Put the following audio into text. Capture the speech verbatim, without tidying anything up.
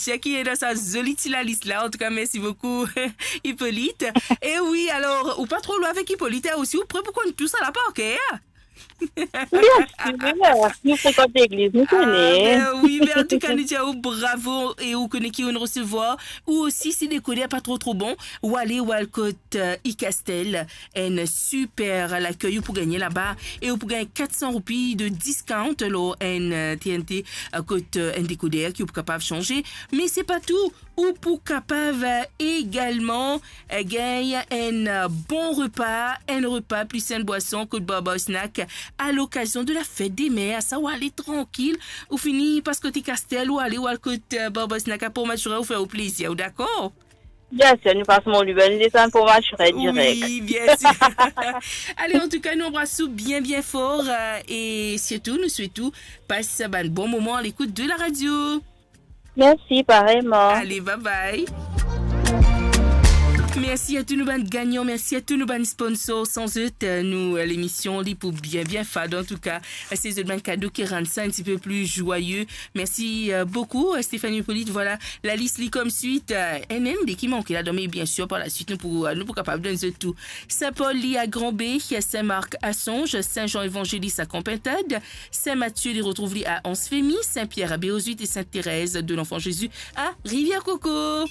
Cher ki ena sa zoli ti lalis la. Antouka, mersi boukou, Hippolyte. E wi, alor, ou pa tro lwin avek Hippolyte, hein, osi, ou pre pou konn tou sa la par ker? Bien sûr, nou frekant legliz, nou kone. Ah, ben wi, ben antouka, nou dir ou bravo e ou kone ki ou resevwar. Ou osi, si dekoder pa tro, tro bon, ou ale, ou al kot, euh, Icastel, enn super lakey ou pou gagne laba e ou pou gagn kat san roupi de discount lor enn, euh, T N T, euh, kot, euh, enn dekoder ki ou pou kapav sanze. Me se pa tou, ou pou kapav, euh, egalman, euh, gagn enn, euh, bon repa, enn repa plis enn bwason kot Barbar Snack à l'occasion de la fête des mères. Sa ou ale trankil, ou fini pas kot Icastel, ou ale, ou al kot, euh, Barbar Snack à Port Mathurin, ou fer ou plezir, ou dakor? Bien sûr, nou pas Mont Lubin, nou desann Port Mathurin direk. Wi, bien sûr. Ale, antouka, nou anbras ou bien, bien for, euh, e sirtou, nou swet ou pas bann bon moman a lekout de la radio. Mersi, pareyman. Ale, bye bye. Mersi a tou nou bann gagnan, mersi a tou nou bann sponsor. San zot, euh, nou, euh, lemision li pou bien, bien fad. Antouka, se zot bann kado ki rann sa enn ti pe pli zwaye. Mersi, euh, boukou, euh, Stéphanie Hippolyte. Vwala, lalis li kom swit, euh, enn, enn de ki manke ladan, me bien sir, par la swit, nou pou, euh, nou pou kapav donn zot tou. Saint-Paul li à Grand-Baie, Saint-Marc à Songe, Saint-Jean Évangéliste à Camp Pintade, Saint-Mathieu li retrouv li à Anse Femy, Saint-Pierre à Béozut et Sainte-Thérèse de l'Enfant Jésus à Rivière-Coco.